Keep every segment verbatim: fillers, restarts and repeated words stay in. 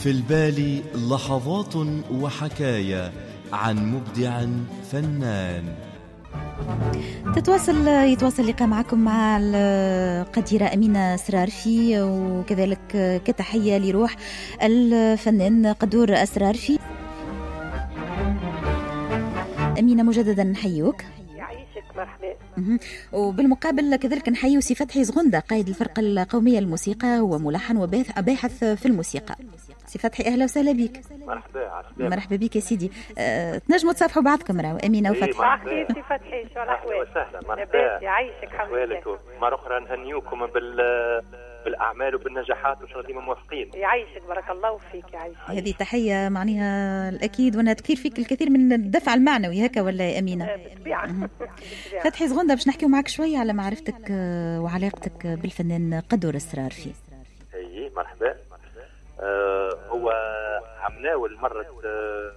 في البال لحظات وحكايا عن مبدع فنان. تتواصل يتواصل اللقاء معكم مع القديرة أمينة سرارفي، وكذلك كتحية لروح الفنان قدور السرارفي. أمينة مجددا نحيوك. يعيشك، مرحبا. وبالمقابل كذلك نحيي سي فتحي زغندة قائد الفرقة القومية للموسيقى وملحن وباحث في الموسيقى. سي فتحي أهلا وسهلا بك. مرحبا. مرحبا بك يا سيدي. أه، تنجموا تصافحوا بعضكم راهو أمينة وفتحي. مرحبا سي فتحي، شو الأحوال؟ وسهلا، مرحبا. يعيشك، حمد. مرة أخرى نهنيوكم بال بالأعمال وبالنجاحات وإن شاء الله ديما موفقين. يعيشك، بارك الله فيك. يعيشك. هذه تحية معناها الأكيد وأنها تكثير فيك الكثير من الدفع المعنوي هكا ولا يا أمينة؟ بالطبيعة. فتحي زغندة باش نحكيو معك شوية على معرفتك وعلاقتك بالفنان قدور السرارفي. أي مرحبا. آه هو عمناول مرت آه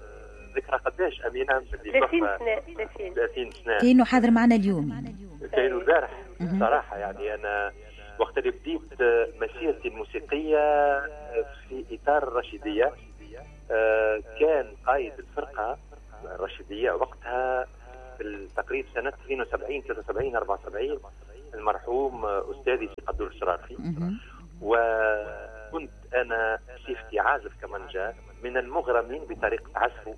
ذكرى قداش أمينة؟ ثلاثين سنة. ثلاثين سنة. كأنه حاضر معنا اليوم. كأنه البارح صراحة. يعني أنا وقت اللي بديت مسيرتي الموسيقية في إطار الرشيدية كان قائد الفرقة الرشيدية وقتها بالتقريب سنة اثنين وسبعين ثلاثة وسبعين أربعة وسبعين المرحوم أستاذي سي قدور السرارفي، وكنت أنا صفتي عازف كمانجا من المغرمين بطريقة عزفه،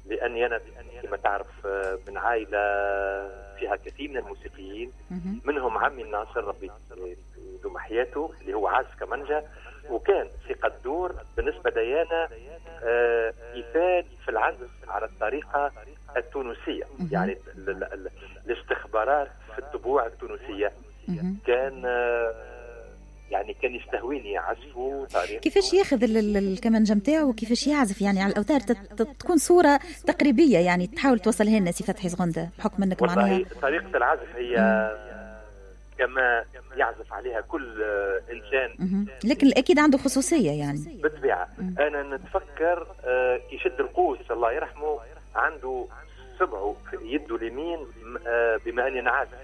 لأني أنا كما تعرف من عائلة فيها كثير من الموسيقيين، منهم عمي الناصر ربي يدوم حياته اللي هو عازف كمانجا، وكان سي قدور بالنسبة لي آه مثال في العزف على الطريقة التونسية، يعني ال ال الاستخبارات في الطبوع التونسية. كان آه يعني كان يستهويني عزفه طريقته، كيفاش ياخذ الكمانجا نتاعو وكيفاش يعزف يعني على الاوتار، تكون صوره تقريبية يعني تحاول توصلها لنا سي فتحي زغندة بحكم انك معناها طريقه العزف هي كما يعزف عليها كل انسان، لكن الاكيد عنده خصوصية يعني بالطبيعة. انا نتفكر كي يشد القوس الله يرحمه عنده صبعه في يده اليمين، بما اني انا عازف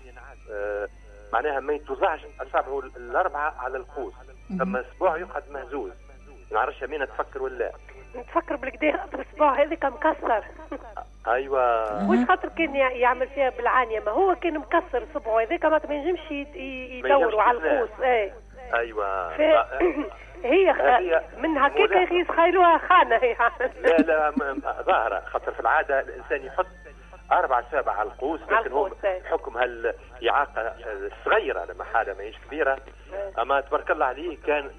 معناها ما يتوزعش اصابعه الاربعة على القوس، ثم اسبوع يقعد مهزوز. ما نعرفش امينه تفكر ولا نتفكر بالكدا الاسبوع هذاك مكسر. ايوه، مش خاطر كان يعمل فيها بالعانيه، ما هو كان مكسر صبعه هذاك ما ينجمش يدوروا على القوس. اي ايوه ف... هي من هكاك يتخيلوها خانه هي. لا لا ظاهره، خاطر في العادة الانسان يحط أربع سابع على القوس، لكن هو بحكم هالإعاقة الصغيرة لما حالة ماهيش كبيرة، أما تبارك الله عليه كان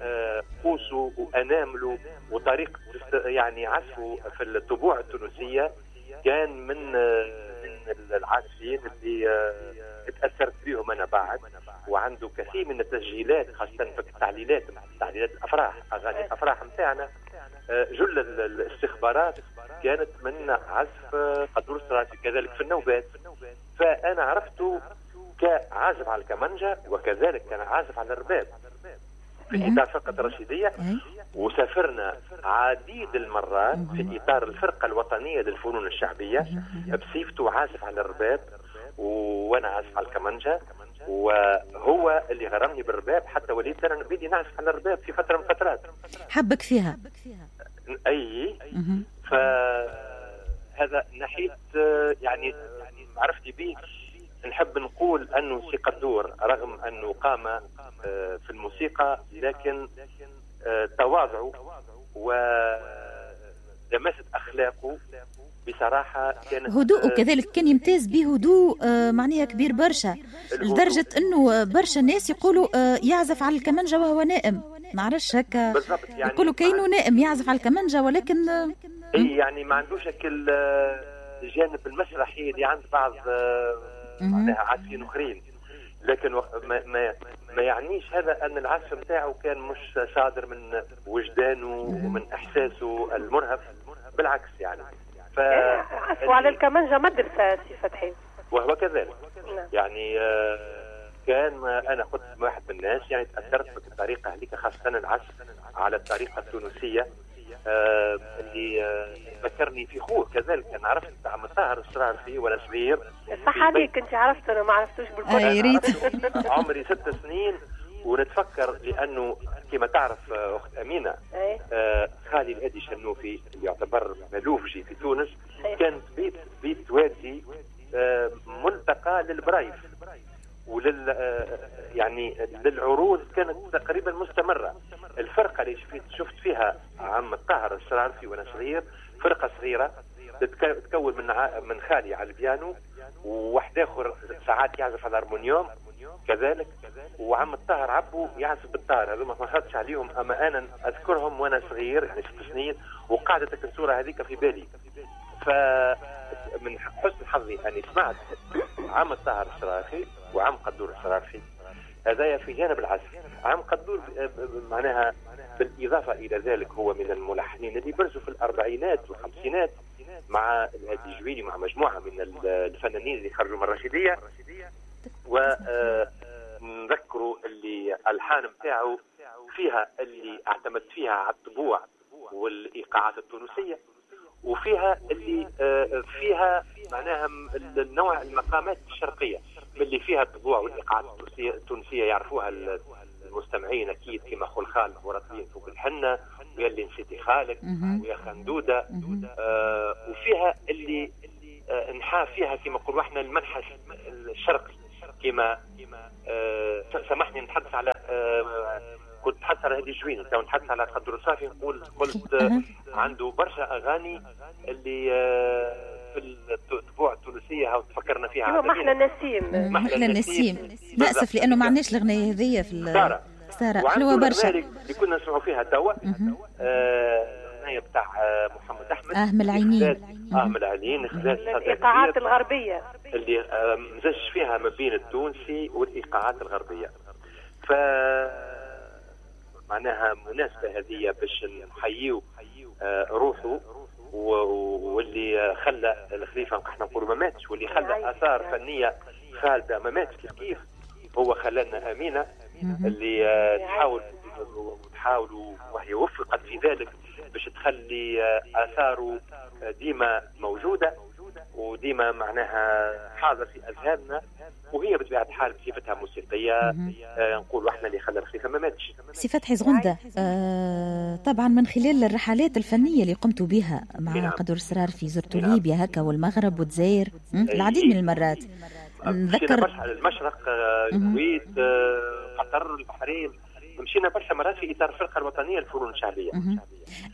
قوسه وأنامله وطريقة يعني عزفه في الطبوع التونسية كان من من العازفين اللي تأثرت بهم أنا بعد، وعنده كثير من التسجيلات خاصة في التعليلات، تعليلات الأفراح، أغاني الأفراح متاعنا، جل الاستخبارات كانت من عزف قدور السرارفي، كذلك في النوبات. فأنا عرفته كعازف على الكمانجا وكذلك كان عازف على الرباب في إطار فرقة الرشيدية، وسافرنا عديد المرات في إطار الفرقة الوطنية للفنون الشعبية بصفته عازف على الرباب وأنا عازف على الكمانجا، وهو اللي غرمني بالرباب حتى وليت أنا بدي نعزف على الرباب في فترة من الفترات. حبك فيها. أي فهذا ناحية يعني معرفتي به. نحب نقول أنه سي قدور رغم أنه قام في الموسيقى لكن تواضعه ولمست أخلاقه بصراحة كانت هدوءه، كذلك كان يمتاز بهدوء معناها كبير برشا، لدرجة أنه برشا ناس يقولوا يعزف على الكمانجا وهو نائم، ما عرفش هكا يعني يقولوا كأنه نائم يعزف على الكمانجا، ولكن اي يعني ما عندوش الجانب المسرحي اللي عند بعض معناها عازفين اخرين، لكن ما, ما, ما يعنيش هذا ان العزف نتاعو كان مش صادر من وجدانه ومن احساسه المرهف، بالعكس يعني. ف عزفه على الكمانجا مدرسه سي فتحي، وهو كذلك يعني. كان انا كنت واحد من الناس يعني تاثرت بالطريقة هذيك، خاصة العزف على الطريقة التونسية آه اللي آه ذكرني في خوه كذلك. انا عرفت عم طاهر السرارفي وانا صغير. صح عليك، انت عرفت انا ما عرفتوش بالكل. عمري ست سنين ونتفكر لانه كما تعرف اخت امينه آه خالي خالي الهادي شنوفي اللي يعتبر ملوفجي في تونس، كانت بيت بيت والدي ملتقى للبرايف ولل يعني للعروض، كانت تقريبا مستمرة. الفرقة اللي شفت فيها عم الطاهر الشرارفي وانا صغير، فرقة صغيرة تتكون من من خالي على البيانو، وواحد اخر ساعات يعزف على الهارمونيوم كذلك، وعم الطاهر عبو يعزف بالطار. هذو ما خرجتش عليهم، اما انا اذكرهم وانا صغير يعني ست سنين، وقعدت الصورة هذيك في بالي. فمن حسن حظي اني سمعت عم الطاهر الشرارفي وعم قدور الشرارفي، هذايا في جانب العزف. عم قدور معناها بالإضافة إلى ذلك هو من الملحنين اللي برزوا في الأربعينات والخمسينات مع الهادي الجويني، مع مجموعة من الفنانين اللي خرجوا من الرشيدية. ونذكروا اللي الحان متاعه فيها اللي اعتمد فيها على الطبوع والإيقاعات التونسية، وفيها اللي فيها معناها النوع المقامات الشرقية اللي فيها الطبوع والإيقاعات التونسية يعرفوها المستمعين أكيد، كما خلخال ورطين فوق الحنة، ويا اللي نسيتي خالك، ويا خندودة. آه وفيها اللي آه نحا فيها كما نقولوا احنا المنحى الشرقي، كما آه سامحني نتحدث على آه كنت نتحدث على هادي جويني، تو نتحدث على قدر صافي، نقول قلت آه عنده برشا أغاني اللي آه في الطبوع التونسية هاو تفكرنا فيها. محلى النسيم، محلى النسيم. نأسف لأنه ما عندناش الأغنية هذية في سارة، حلوة برشا اللي كنا نسمعوا فيها توا، الأغنية بتاع محمد أحمد، أهم العينين، أهم العينين، خذات الإيقاعات الغربية اللي مزج فيها ما بين التونسي والإيقاعات الغربية. ف معناها مناسبة هذه باش نحييو روحه، واللي خلى الخليفة احنا نقولوا ما ماتش، واللي خلى آثار فنية خالدة ما ماتش كيف كيف هو خلانا أمينة اللي تحاول وتحاول وهي وفقت في ذلك باش تخلي آثاره ديما موجودة وديما معناها حاضر في أذهاننا، وهي بطبيعة الحال بصفتها موسيقية نقول احنا اللي خلى الخليفة ما ماتش. سي فتحي زغندة، آه طبعا من خلال الرحلات الفنية اللي قمتوا بها مع نعم. قدور السرارفي، زرتوا نعم. ليبيا هكا والمغرب والجزائر العديد من المرات. نذكر برشا على المشرق، الكويت، قطر، البحرين، مشينا برشا مرات في إطار الفرقة الوطنية للفنون الشعبية.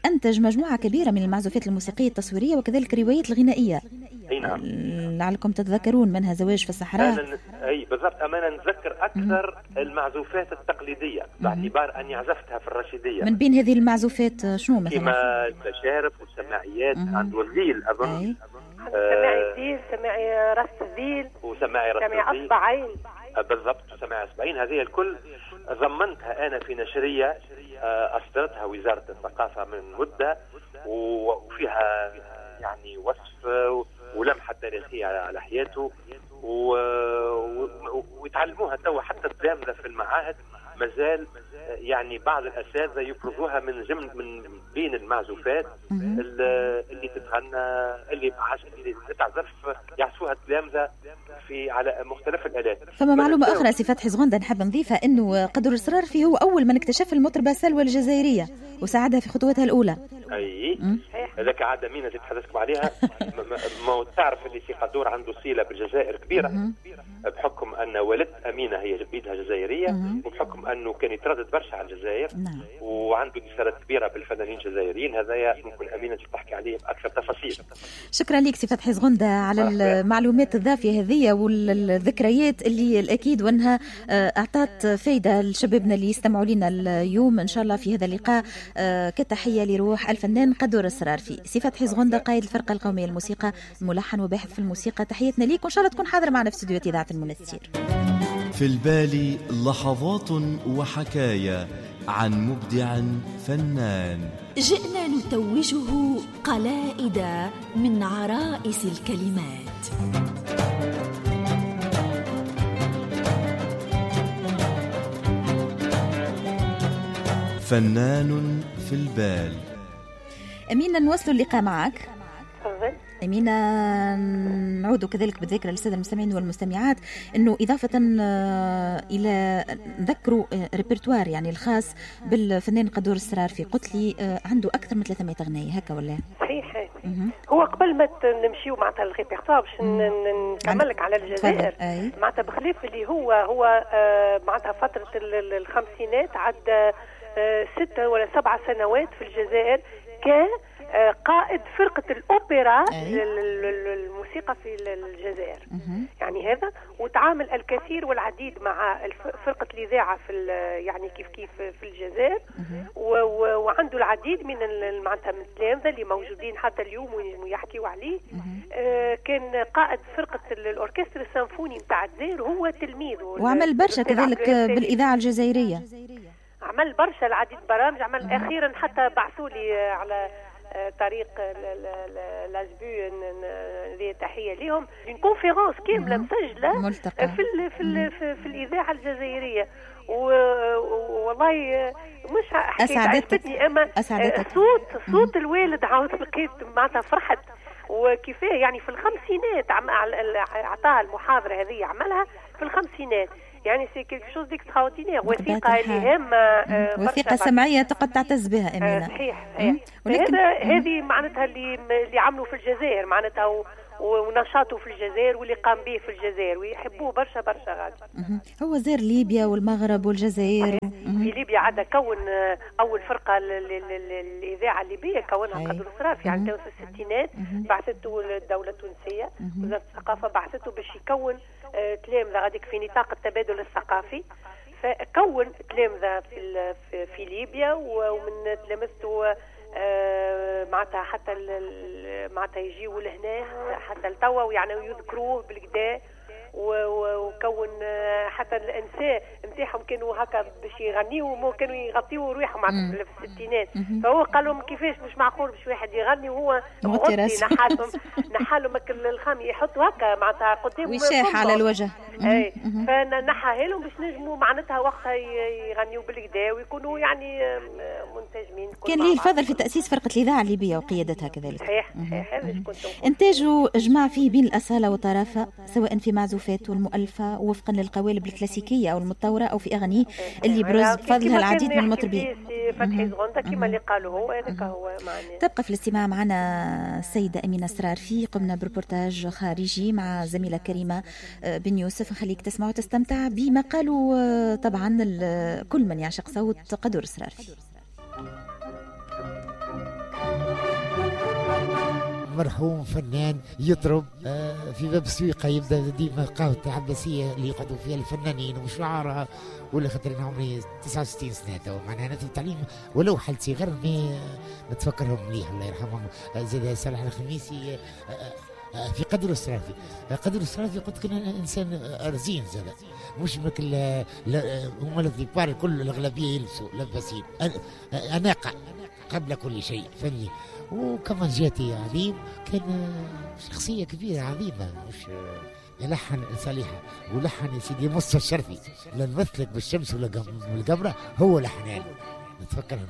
أنتج مجموعة كبيرة من المعزوفات الموسيقية التصويرية وكذلك الروايات الغنائية. أي نعم. لعلكم تتذكرون منها زواج في الصحراء. أنا أي بالضبط، أما نتذكر أكثر المعزوفات التقليدية باعتبار أني عزفتها في الرشيدية. من بين هذه المعزوفات شنو مثلا؟ كما المشارف والسماعيات، عنده الذيل أظن. سماعي الذيل، سماعي راس الذيل، وسماعي راس الذيل، سماعي أصبعين. بالضبط، سماعي أصبعين. هذه الكل ضمنتها أنا في نشرية أصدرتها وزارة الثقافة من مدة، وفيها يعني وصف ولمحة تاريخية على حياته، ويتعلموها توا حتى التلامذة في المعاهد مازال يعني بعض الأساتذة يفرضوها من جمل من بين المعزوفات اللي تتغنى، اللي اللي تتعزف يعزفوها التلامذة في على مختلف الآلات. فما معلومة أخرى سي فتحي زغندة نحب نضيفها، إنه قدور السرارفي هو أول من اكتشف المطربة سلوى الجزائرية وساعدها في خطوتها الأولى. أي هذاك عاد أمينة اللي تحدثكم عليها. ما تعرف اللي سي قدور عنده صلة بالجزائر كبيرة بحكم أن والدة أمينة هي بيدها جزائرية، وبحكم أنه كان يتردد برشا على الجزائر وعنده اتصالات كبيرة بالفنانين الجزائريين. هذايا ممكن أمينة تحكي عليه بأكثر تفاصيل. شكرا لك سي فتحي زغندة على المعلومات الضافية هذه والذكريات اللي الأكيد وأنها أعطت فايدة لشبابنا اللي يستمعوا لنا اليوم إن شاء الله في هذا اللقاء، كتحية لروح الفنان قدور السرارفي. سي فتحي زغندة قائد الفرقة القومية للموسيقى، ملحن وباحث في الموسيقى، تحياتنا ليك وإن شاء الله تكون حاضر معنا في استوديو إذاعة المنستير. في البال لحظات وحكايا عن مبدع فنان، جئنا نتوجه قلائد من عرائس الكلمات. فنان في البال. أمينة نواصل اللقاء معك. تفضل. أمينة، نعود كذلك بالذكرى للسادة المستمعين والمستمعات أنه إضافة إلى نذكروا ريبرتوار يعني الخاص بالفنان قدور السرارفي، قلت لي عنده أكثر من ثلاثمائة غناية هكا ولا؟ صحيح. هو قبل ما نمشيو معناتها الريبرتوار باش نكمل لك على الجزائر، معناتها بخلاف اللي هو هو معناتها فترة الخمسينات عد ستة ولا سبعة سنوات في الجزائر كان قائد فرقة الأوبرا الموسيقى في الجزائر. يعني هذا، وتعامل الكثير والعديد مع فرقة الإذاعة في يعني كيف كيف في الجزائر، وعنده العديد من معناتها من التلامذة اللي موجودين حتى اليوم ويحكيوا عليه. كان قائد فرقة الأوركسترا السيمفوني نتاع الجزائر، هو تلميذه، وعمل برشا كذلك بالإذاعة الجزائرية، عمل برشا العديد برامج، عمل أخيرا حتى بعثوا لي على طريق l'ASBU اللي تحية لهم une conférence كاملة مسجله في ال في ال في, في الاذاعة الجزائرية. والله مش حكاية عجبتني، اما صوت صوت الوالد عاود لقيت معناتها فرحت وكيفاه يعني في الخمسينات عطاها المحاضرة هذه، عملها في الخمسينات، يعني c'est quelque chose d'extraordinaire، وثيقة اللي هامة، وثيقة سمعية تقد تعتز بها امينه. صحيح صحيح. ولكن هذه معناتها اللي اللي عملوا في الجزائر معناتها ونشاطه في الجزائر واللي قام به في الجزائر ويحبوه برشا برشا غادي. هو زار ليبيا والمغرب والجزائر. في ليبيا عاد كون اول فرقه للاذاعة الليبية كونها قدور السرافي يعني في الستينات، بعثته الدولة التونسية وزارة الثقافة بعثته باش يكون تلامذه غاديك في نطاق التبادل الثقافي، فكون تلامذه في في ليبيا، ومن تلامذته معناتها حتى معناتها يجيوا لهنا حتى لتوا ويعني يذكروه بالكدا، وكون حتى الانساء نتاعهم كانوا هكا باش يغنيوا كانوا يغطيوا رواحهم معناتها في الستينات، فهو قال لهم كيفاش مش معقول باش واحد يغني وهو مغطي، نحالهم نحالهم الخام يحطوا هكا معناتها قدام وشاح على الوجه، اي فنحاها لهم باش نجموا معناتها وقتها يغنيوا بالكدا ويكونوا يعني منسجمين. كان ليه الفضل في تاسيس فرقه الاذاعة الليبية وقيادتها كذلك. صحيح صحيح. هذا كنت انتاجه جمع فيه بين الاصالة والطرافه، سواء في معزوفات والمؤلفة وفقا للقوالب الكلاسيكية أو المتطورة أو في أغانيه اللي برز بفضلها العديد من المطربين. فتحي زغندة كما اللي قالوا هو هذاك هو معناه. تبقى في الاستماع معنا السيدة أمينة السرارفي، قمنا بريبورتاج خارجي مع زميلة كريمة بن يوسف، نخليك تسمع وتستمتع بما قالوا طبعا كل من يعشق صوت قدور السرارفي. مرحوم فنان يطرب في باب السويقة، يبدا ديما قهوة العباسية اللي يقعدوا فيها الفنانين وشعراء، ولا خاطر انا عمري تسعة وستين سنة تو معناها انا في التعليم ولو حال صغر نتفكرهم مليح الله يرحمهم. زاد صالح الخميسي في قدر السرافي، قدر السرافي قلت كان انسان رزين زاد، مش مثل هما الذبار الكل الاغلبية يلبسوا لباسين، اناقة قبل كل شيء فني. وكمان جاتي عظيم، كان شخصية كبيرة عظيمة، مش يلحن صالحة ولحن يا سيدي مصطفى الشرفي، لا نمثلك بالشمس ولا بالقمرة، هو لحنان نتفكر.